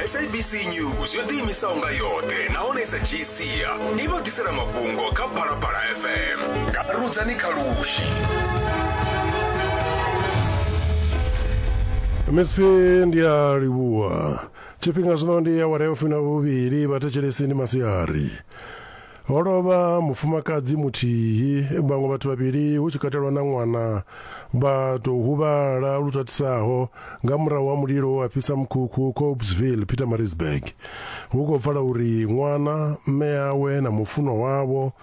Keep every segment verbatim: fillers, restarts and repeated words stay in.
S A B C News yo ḓiimisaho nga yoṱhe nahone sa dzhii sia i vha ḓisela mafhungo kha Phalaphala F M nga Rudzani Khalushi. M S P, ndi a livhuwa. Tshifhinga zwino ndi awara ya fumi na vhuvhili. Vhathetshelesi, ndi masiari. Ho lovha mufumakadzi muthihi, vhaṅwe vhathu vhavhili hu tshi katelwa na ṅwana vha tou huvhala lu tatisaho nga murahu ha mulilo wa fhisa mukhukhu Copesville, Pietermaritzburg. Hu khou pfala uri ṅwana, mme awe na mufunwa wavho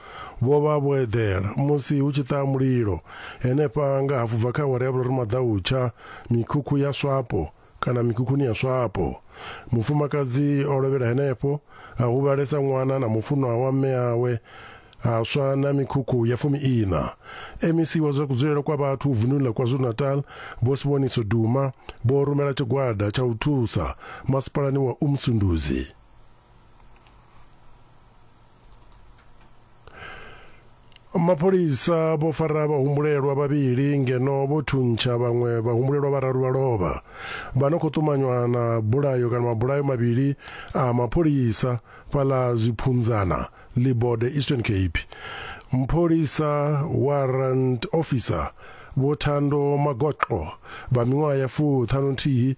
vho vha vho eḓela musi hu tshi ṱaha mulilo henefha nga hafu bva kha awara ya vhuraru maḓautsha mikhukhu ya Swapo kana mikhukhuni ya Swapo. Mufumakadzi o lovhela henefho, a huvhalesa ṅwana na mufunwa wa mme awe, ha swa na mikhukhu ya fumi ina. M E C wa zwa kudzulele kwa vhathu vununi ḽa KwaZulu-Natal, Vho Siboniso Duma, vho rumela tshigwada tsha u thusa masipalani wa Umsunduzi. Mapholisa vho fara vhahumbulelwa vhavhili ngeno vho thuntsha vhaṅwe vhahumbulelwa vhararu vha lovha vha no khou ṱumanywa na bulayo kana mabulayo mavhili a mapholisa fhaḽa Zwiphunzana, Libode, Eastern Cape. Mupholisa warrant officer Vho Thando Magoqo vha miṅwaha ya fuṱhanu nthihi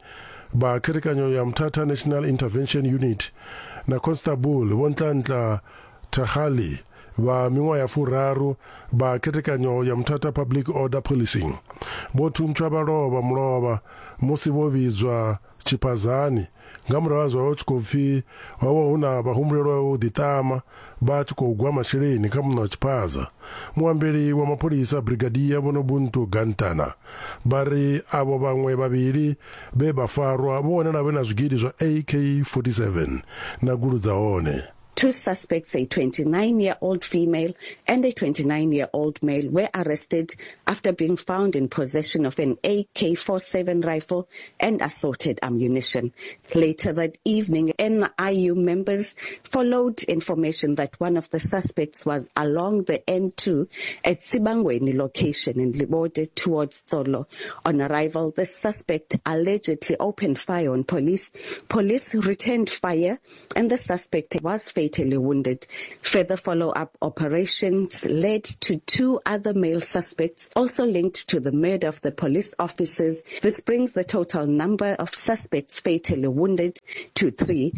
vha khethekanyo ya Mthatha National Intervention Unit na Constable Vho Ntlantla Thakgali vha miṅwaha ya furaru vha khethekanyo ya Mthatha Public Order Policing vho thuntshwa vha lovha mulovha musi vho vhidzwa tshiphazani nga murahu ha zwa vha tshi khou pfi ho vha hu na vhahumbulelwa vho ḓiṱama vha tshi khou gwa masheleni kha muṋe wa tshiphaza. Muambeli wa mapholisa, Brigadier Vho Nobuntu Gantana, vha ri avho vhaṅwe vhavhili vhe vha farwa vho wanala vhe na zwigidi zwa A K forty-seven na gulu dza hone. Two suspects, a twenty-nine-year-old female and a twenty-nine-year-old male, were arrested after being found in possession of an A K forty-seven rifle and assorted ammunition. Later that evening, N I U members followed information that one of the suspects was along the N two at Sibangweni location in Libode towards Tsolo. On arrival, the suspect allegedly opened fire on police. Police returned fire and the suspect was fatally wounded. Further follow-up operations led to two other male suspects also linked to the murder of the police officers. This brings the total number of suspects fatally wounded to three.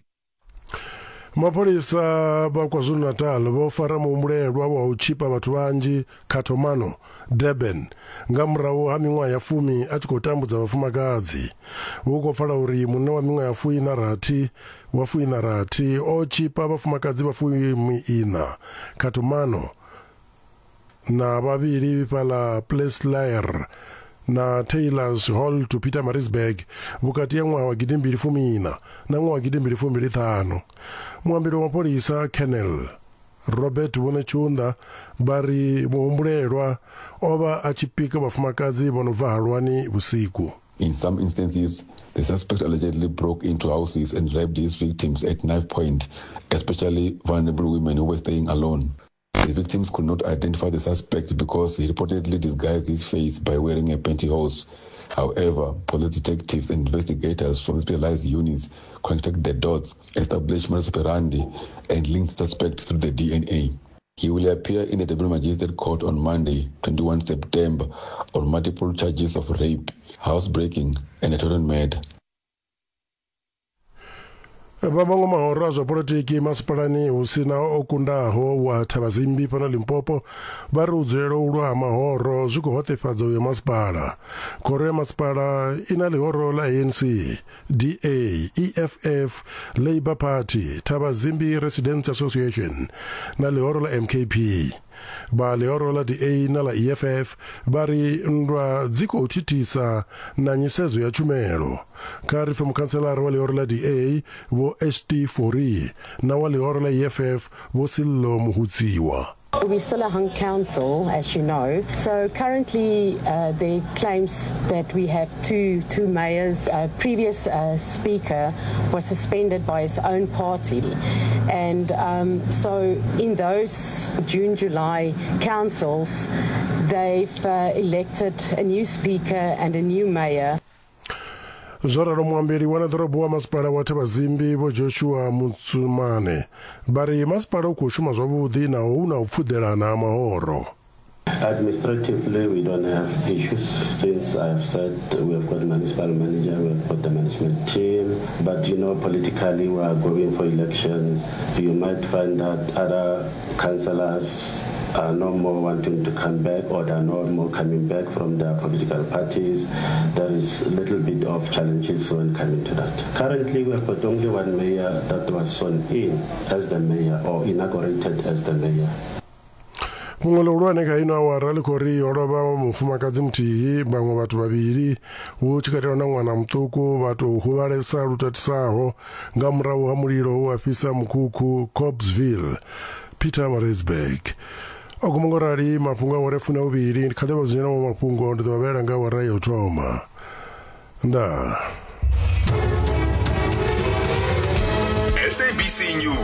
Mapholisa vha KwaZulu-Natal vho fara muhumbulelwa wa u tshipa vhathu vhanzhi Khathomano, Durban, nga murahu ha miṅwaha ya fumi a tshi khou tambudza vhafumakadzi. Hu khou pfala uri munna wa miṅwaha ya fuiṋa rathi wa fuiṋa rathi o tshipa vhafumakadzi vha fumi iṋa Khathomano na vhavhili fhaḽa Pleslier na Taylors Hall to Pietermaritzburg vhukati ya ṅwaha wa gidimbili fumi iṋa na ṅwaha wa gidimbili fumbili ṱhanu. Muambeli wa mapholisa, Colonel Robert Vho Netshiunda, vha ri muhumbulelwa o vha a tshi pika vhafumakadzi vho no bva halwani vhusiku. In some instances, the suspect allegedly broke into houses and raped his victims at knife point, especially vulnerable women who were staying alone. The victims could not identify the suspect because he reportedly disguised his face by wearing a pantyhose. However, police detectives and investigators from specialized units connected the dots, established modus operandi, and linked the suspect through the D N A. He will appear in the Durban Magistrate Court on Monday, twenty-first September, on multiple charges of rape, housebreaking, and attempted murder. Vha maṅwe mahoro a zwa polotiki masipalani hu sina o kundaho wa Thabazimbi fhano Limpopo vha ri u dzulela u lwa ha mahoro zwi khou hoṱefhadza uyo masipala. Khoro ya masipala i na ḽihoro ḽa A N C, D A, E F F, Labour Party, Thabazimbi Residents Association na ḽihoro ḽa M K P. Vha ḽihoro ḽa D A na ḽa E F F vha ri nndwa dzi khou thithisa na nyisedzo ya tshumelo. Kha ri pfe mukhantselara wa ḽihoro ḽa D A, Vho St Fourie, na wa ḽihoro ḽa E F F, Vho Sillo Muhutsiwa. We're still a hung council, as you know. So currently, uh, there claims that we have two two mayors. Uh, previous uh, speaker was suspended by his own party, and um, so in those June July councils, they've uh, elected a new speaker and a new mayor. Zwo ralo muambeli wa ḓorobo wa masipala wa Thabazimbi Vho Joshua Mutsumane vha ri masipala u khou shuma zwavhuḓi naho hu na u pfuḓelana ha mahoro. Administratively, we don't have issues since I've said we have got municipal manager, we have got the management team. But you know, politically, we are going for election. You might find that other councillors are no more wanting to come back, or they are no more coming back from their political parties. There is a little bit of challenges when coming to that. Currently, we have got only one mayor that was sworn in as the mayor or inaugurated as the mayor. Fhungo ḽihulwane kha ino awara ḽi khou ri ho lovha mufumakadzi muthihi, vhaṅwe vhathu vhavhili hu tshi katelwa na ṅwana muṱuku vha tou huvhalesa lu tatisaho nga murahu ha mulilo we wa fhisa mukhukhu Copesville, Pietermaritzburg. O guma ngo rali mafhungo a awara ya fumi na vhuvhili. Ndi kha ḓi vha dzudzanyela maṅwe mafhungo, ndi ḓo vha vhalela nga awara ya u thoma. Ndaa. S A B C News.